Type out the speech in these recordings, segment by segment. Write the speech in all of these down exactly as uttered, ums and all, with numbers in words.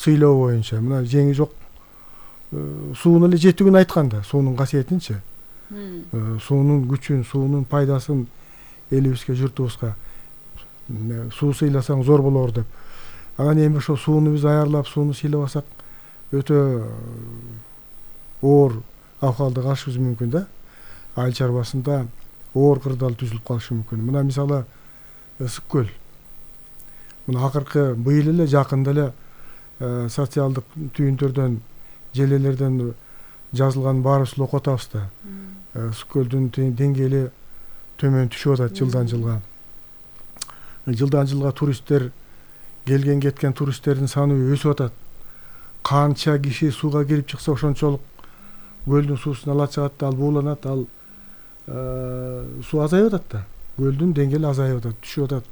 сыйлоо боюнча мына жеңи жок суунун эле жетигин айткан да, суунун касиетинчи, суунун күчүн, суунун пайдасын элибизге, журтубузга суу сыйласаң зор болор деп. Анан эми ошо сууну биз аярлап, сууну сыйлабасак өтө оор абкалды калышыбыз мүмкүн да. Айыл чарбасында оор кырдаал түзүлүп калышы мүмкүн. Мына мисалы ысык көл. Мына акыркы быйыл эле жакында эле социалдык түйүндөрдөн, желелерден жазылган баарыбыз окуп атабыз да. Ысык көлдүн деңгээли төмөн түшүп атат жылдан жылга. Жылдан жылга туристтер, келген кеткен туристтердин саны өсүп атат. Канча киши сууга кирип чыкса ошончолук көлдүн суусун ала чыгат да, ал бууланат, ал суу азайып атат да. Көлдүн деңгээли азайып атат, түшүп атат.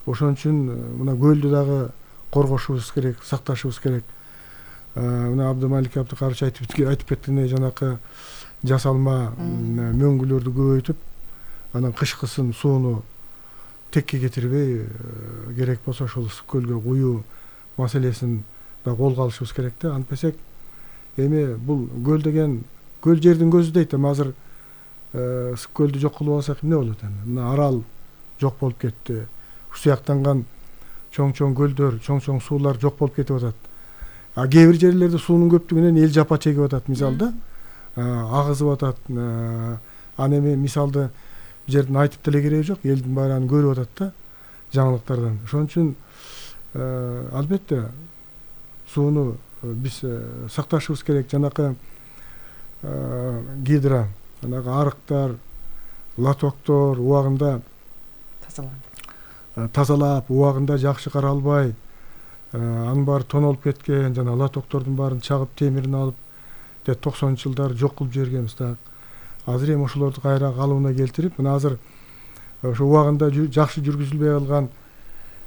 Ошон үчүн мына көлдү дагы коргошубуз керек, сакташыбыз керек. Мына Абдымалик Абдыкарович айтып айтып кеткендей, жанакы жасалма мөңгүлөрдү көбөйтүп, анан кышкысын сууну текке кетирбей, керек болсо ошол ысык көлгө куюу маселесин да колго алышыбыз керек да. Антпесек эми бул көл деген көл жердин көзү дейт. Эми азыр ысык көлдү жок кылып алсак эмне болот эми? Мына Арал жок болуп кетти. Сыяктанган чоң-чоң көлдөр, чоң-чоң суулар жок болуп кетип атат. А кээ бир жерлерде суунун көптүгүнөн эл жапа чегип атат, мисалда агызып атат. Аны эми мисалды бул жерден айтып деле кереги жок, элдин баары аны көрүп атат да, жаңылыктардан. Ошон үчүн албетте сууну биз сакташыбыз керек. Жанакы гидро, жанагы арыктар, лотоктор убагында тазалап, убагында жакшы каралбай, анын баары тонолуп кеткен, жана лотоктордун баарын чагып, темирин алып, токсонунчу жылдары жок кылып жибергенбиз да. Азыр эми ошолорду кайра калыбына келтирип, мына азыр ошо убагында жакшы жүргүзүлбөй калган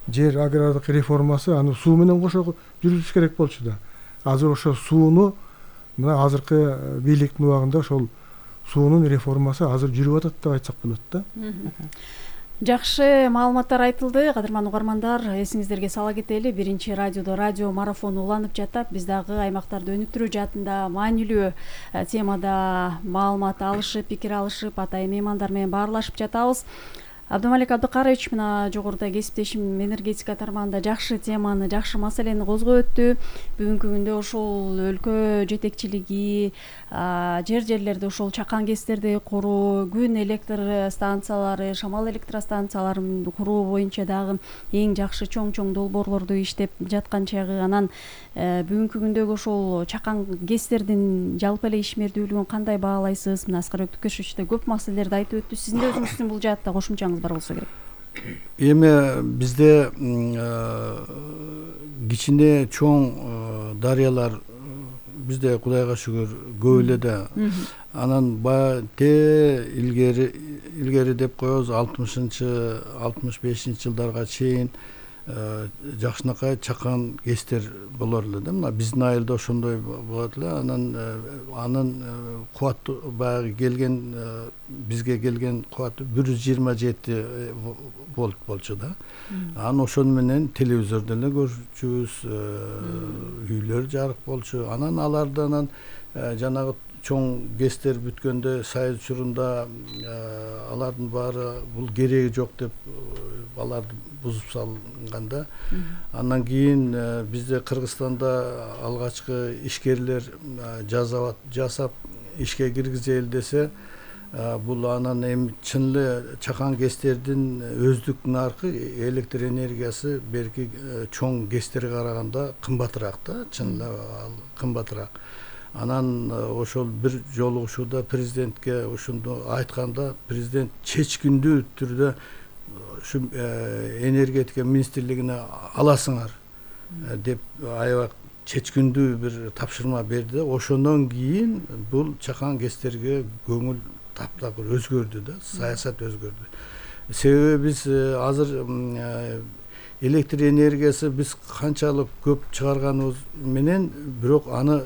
жер агрардык реформасы, аны суу менен кошо жүргүзүш керек болчу да. Азыр ошо сууну мына азыркы бийликтин убагында ошол суунун реформасы азыр жүрүп атат деп айтсак болот да. Жакшы маалыматтар айтылды. Кадырман угармандар, эсиңиздерге сала кетели, биринчи радиодо радио марафону уланып жатат. Биз дагы аймактарды өнүктүрүү жаатында маанилүү темада маалымат алышып, пикир алышып, атайын меймандар менен баарлашып жатабыз. Абдымалик Абдыкарович мына жогоруда кесиптешим энергетика тармагында жакшы теманы, жакшы маселени козгоп өттү. Бүгүнкү күндө ошол өлкө жетекчилиги жер жерлерде ошол чакан гэстерди куруу, күн электр станциялары, шамал электростанцияларын куруу боюнча дагы эң жакшы чоң-чоң долбоорлорду иштеп жаткан чагы. Анан бүгүнкү күндөгү ошол чакан гэстердин жалпы эле ишмердүүлүгүн кандай баалайсыз? Мына Аскар Өктүкөшевич да көп маселелерди айтып өттү. Сиздин да өзүңүздүн бул жаатта кошумчаңыз бар болсо керек. Эми бизде кичине чоң дарыялар бизде Кудайга шүгүр көп эле да. Анан баягы те илгери илгери деп коебуз, алтымышынчы алтымыш бешинчи жылдарга чейин жакшынакай чакан гэстер болор эле да. Мына биздин айылда ошондой болот эле. Анан анын кубаты баягы келген бизге келген кубаты бир жүз жыйырма жети вольт болчу да. Анан ошону менен телевизордон эле көрчүбүз, үйлөр жарык болчу. Анан алардан жанагы чоң гэстер бүткөндө Союз учурунда алардын баары бул кереги жок деп аларды бузуп салганда, андан кийин бизде Кыргызстанда алгачкы ишкерлер жасап ишке киргизели десе, бул анан эми чын эле чакан гэстердин өздүк наркы электр энергиясы берки чоң гэстерге караганда кымбатыраак да, чын эле кымбатыраак. Анан ошол бир жолугушууда президентке ошондо айтканда, президент чечкиндүү түрдө ушу энергетика министрлигине аласыңар деп аябай чечкиндүү бир тапшырма берди. Ошондон кийин бул чакан гэстерге көңүл таптакыр өзгөрдү да, саясат өзгөрдү. Себеби биз азыр электр энергиясы биз канчалык көп чыгарганыбыз менен, бирок аны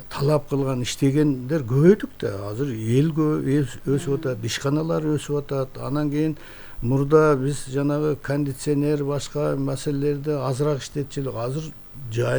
талап кылган, иштегендер көбөйдүк да. Азыр эл өсүп атат, ишканалар өсүп атат. Анан кийин мурда биз жанагы кондиционер башка маселелерди азыраак иштетчү элек. Азыр жайын